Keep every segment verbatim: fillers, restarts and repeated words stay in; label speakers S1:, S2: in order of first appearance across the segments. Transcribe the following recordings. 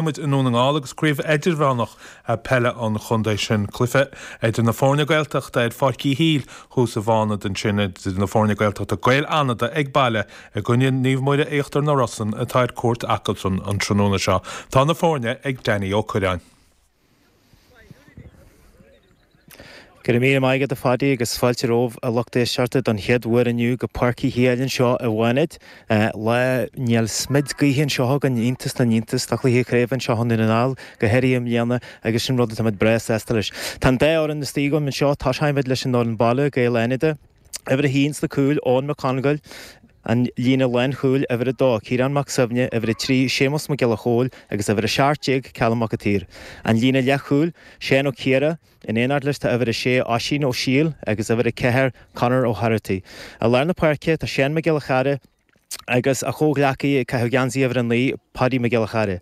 S1: Muid i nDún na nGall agus craobh idirmheánach peile an chontae sin cluiche idir na foirne Gaeltachta ar Pháirc Uí Shiail thuas i bhFánad ansin idir na foirne Gaeltachta Gaeil Fhánada ag baile i gcoinne Naomh Muire Íochtar na Rosann atá ar cuairt acusan an tráthnóna seo. Tá na foirne ag Danny Ó Cuirreáin.
S2: Go raibh míle maith agat a Phaddy agus fáilte romhaibh a lucht éisteachta don chéad uair inniu go Páirc Uí Shiail anseo i bhFánaid. Lá níl smid gaoithe anseo againn, iontas na n-iontas, do chluiche craoibhe anseo i nDún na nGall, go háirithe i mbliana agus sin rud atáimid breá sásta leis. Tá an dá fhoireann istigh agam anseo, tosóimid leis an fhoireann baile, Gaeil Fhánada. Uimhir a haon sna cúil, Eoin Mac Congáil, an líne lánchúil, uimhir a dó, Ciarán Mac Suibhne, uimhir a trí, Séamus Mac Giolla Chóill agus uimhir a seacht déag, Callum Mac an tSaoir. An líne leathchúil, Seán Ó Ciardha, in éineacht leis tá uimhir a sé, Oisín Ó Siail agus uimhir a ceathair, Conor O'Herty. I lár na páirce tá Seán Mac Giolla Chearra agus a chomhghleacaí ag caitheamh geansaí uimhir a naoi, Paddy Mac Giolla Chearra.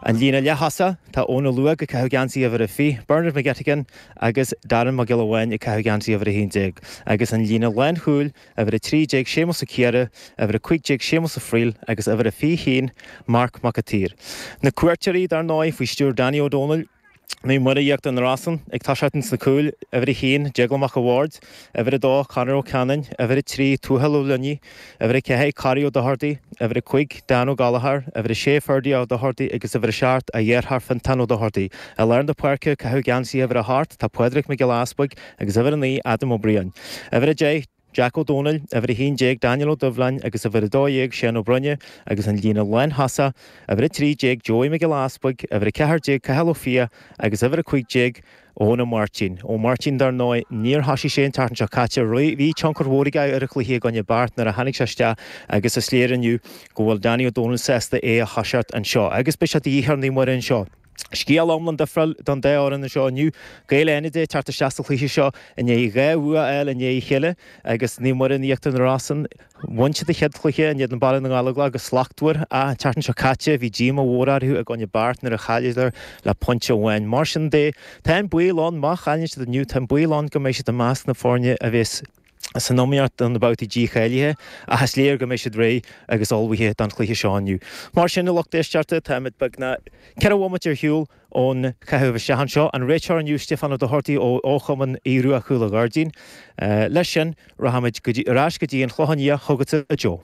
S2: An líne leath-thosaigh, tá Eoin Ó Luaigh ag caitheamh geansaí uimhir a fiche, Bernard McGettigan agus Darren Mac Giolla Bháin ag caitheamh geansaí uimhir a haon déag. Agus an líne lánchúil, uimhir a trí déag, Séamus Ó Ciardha, uimhir a cúig déag, Séamus Ó Frighil agus uimhir a fiche haon, Marc Mac an tSaoir. Na cuairteoirí, dar ndóigh, faoi stiúir Danny Ó Dónaill, Naomh Muire Íochtar na Rosann ag toiseacht ins na cúil, uimhir a haon, Déaglán Mac a' Bhaird, uimhir a dó, Conor Ó Ceanainn, uimhir a trí, Tuathal Ó Luinnigh, uimhir a ceathair, Corry Ó Dochartaigh, uimhir a cúig, Dan Ó Gallchóir, uimhir a sé, Ferdie Ó Dochartaigh agus uimhir a seacht, a dheartháir Fintán Ó Dochartaigh. I lár na páirce, ag caitheamh geansaí uimhir a hocht, tá Pádraig Mac Giolla Easpaig agus uimhir a naoi, Adam Ó Briain. Uimhir a deich, Jack Ó Dónaill, uimhir a haon déag, Daniel Ó Doibhleáin agus uimhir a dó dhéag, Seán Ó Broinne agus an líne lánthosach, uimhir a trí déag, Joey Mac Giolla Easpaig, uimhir a ceathair déag, Cathal Ó Fiaich agus uimhir a cúig déag, Eoin Ó Máirtín. Ó Máirtín, dar ndóigh, níor thosaigh sé an tseachtain seo caite. Bhí tionchar mhór aige ar an chluiche i gcoinne Beart nuair a tháinig sé isteach agus is léir inniu go bhfuil Danny Ó Dónaill sásta é a thoiseacht anseo. Agus beidh sé de dhíth ar Naomh Muire anseo. Scéal iomlán difriúil don dá fhoireann anseo inniu. Gaeil Fhánada ag teacht isteach sa chluiche seo i ndiaidh dhá bhua a fháil i ndiaidh a chéile agus Naomh Muire in Íochtar na Rosann. Bhain siad an chéad chluiche in éadan Baile na nGallóglach go slachtmhar ach an tseachtain seo caite bhí díomá mhór orthu i gcoinne Beart nuair a chailleadar le pointe amháin. Mar sin de, tá an baol ann, má chailleann siad inniu, tá an baol ann go mbeidh siad i measc na foirne a bheas san iomaíocht do na babhtaí dícháilithe ach is léir go mbeidh siad réidh agus ullmhaithe don chluiche seo inniu. Mar sin, a lucht éisteachta, táimid beagnach ceithre bhomaite ar shiúl ón chaitheamh isteach anseo. An réiteoir inniu, Stiofán Ó Dochartaigh ó Fhochumann Aodh Rua Chúil an Ghairdín. Leis sin, rachaimid ar ais go dtí an Chlochán Liath chugatsa, a Joe.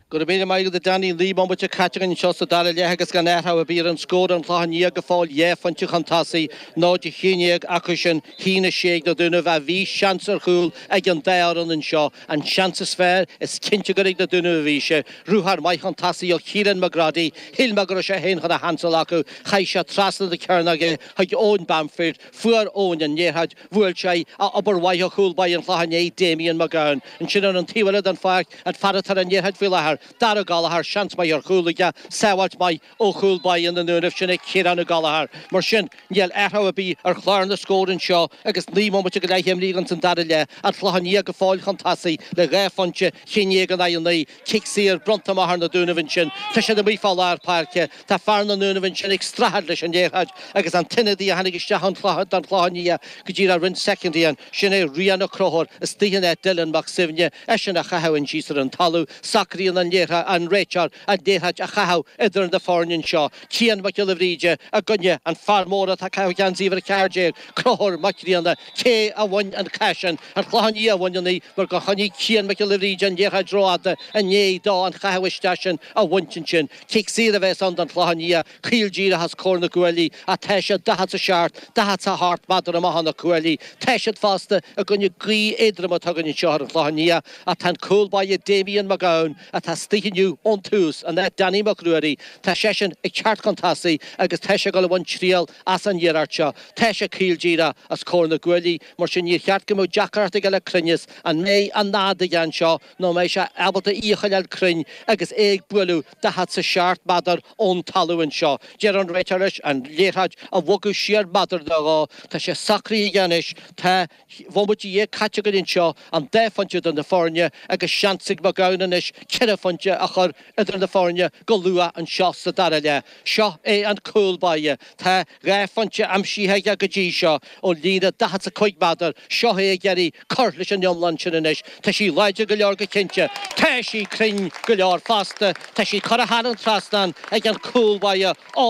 S3: Go raibh míle maith agat a Danny. Naoi mbomaite caite againn anseo sa dara leath agus gan athrú ar bith ar an scór An Clochán Liath go fóill dhá phointe chun tosaigh, náid a haon déag acu sin, haon a sé ag na Dúnaibh ach bhí seans ar chúl ag an dá fhoireann anseo. An seans is fearr, is cinnte gur ag na Dúnaibh a bhí sé. Ruathar maith chun tosaigh ó Chiarán McGroddy. Shíl mé go raibh sé féin chun a sheans a ghlacadh. Chaith sé trasna na cearnóige é chuig Eoin Bamford. Fuair Eoin an liathróid. Bhuail sé í ach obair mhaith ó chúl báire an Chlocháin Léith, Damien McGowan. Ansin ar an taobh eile den pháirc, an fear atá ar an liathróid faoi láthair, Dara Gallagher, seans maith ar chúl aige, sábháilt maith ó chúl báire na nDúnaibh, sin é Ciarán Ó Gallchóir. Mar sin, níl athrú ar bith ar chlár na scór anseo agus naoi mbomaite go leith imrithe againn san dara leath. An Clochán Liath go fóill chun tosaigh le dhá phointe, haon déag in aghaidh a naoi. Cic saor bronnta amach ar na Dúnaibh ansin. Tá siad amuigh fá lár páirce. Tá fear na nDúnaibh ansin ag streachailt leis an liathróid agus an t-ionadaí a tháinig isteach don Chlochán Liath go díreach roinnt soicind ó shin, sin é Rian Ó Conchúir, istigh in áit Dylan Mac Suibhne, eisean á chaitheamh síos ar an talamh. Socraíonn an liathróid, an réiteoir an liathróid a chaitheamh idir na foirne anseo. Cian Mac Giolla Bhríde i gcoinne an fear mór atá ag caitheamh geansaí uimhir a ceathair déag, Conchúr Mac Grianna. Cé a bhain an cath sin? An Clochán Liath a bhain í mar gur choinnigh Cian Mac Giolla Bhríde an liathróid rófhada i ndiaidh dó an chaitheamh isteach sin a bhaint ansin. Cic saor a bheas ann don Chlochán Liath, caol díreach os comhair na gcuaillí ach tá siad daichead 's a seacht, daichead 's a hocht méadar amach ó na cuaillí. Tá siad fosta i gcoinne gaoth éadrom atá againn anseo ar an Chlochán Liath ach tá an cúl báire Damien McGowan atá istigh inniu ón tús in áit Danny Mac Ruairí, tá seisean ag teacht chun tosaigh agus tá sé ag dul a bhaint triail as an iarracht seo. Tá sé caol díreach os comhair na gcuaillí, mar sin níor cheart go mbeadh deacracht aige le cruinneas. An mbeidh an fhad aige anseo nó an mbeidh sé ábalta í a choinneáil cruinn agus é ag bualadh daichead 's a seacht méadar ón talamh anseo? Deir an réiteoir leis an liathróid a bhogadh siar méadar nó dhó. Tá sé socraithe aige anois. Tá bomaite dhéag caite againn anseo, an dá phointe idir na foirne agus seans ag McGowan anois ceithre phointe phointe a chur idir na foirne go luath anseo sa dara leath. Seo é an cúl báire. Tá dhá phointe aimsithe aige go dtí seo ón líne daichead is a cúig méadar. Seo é ag iarraidh cur leis an iomlán sin anois. Tá sí láidir go leor go cinnte. Tá sí cruinn go leor fosta. Tá sí curtha thar an trasnán ag an cúl báire óg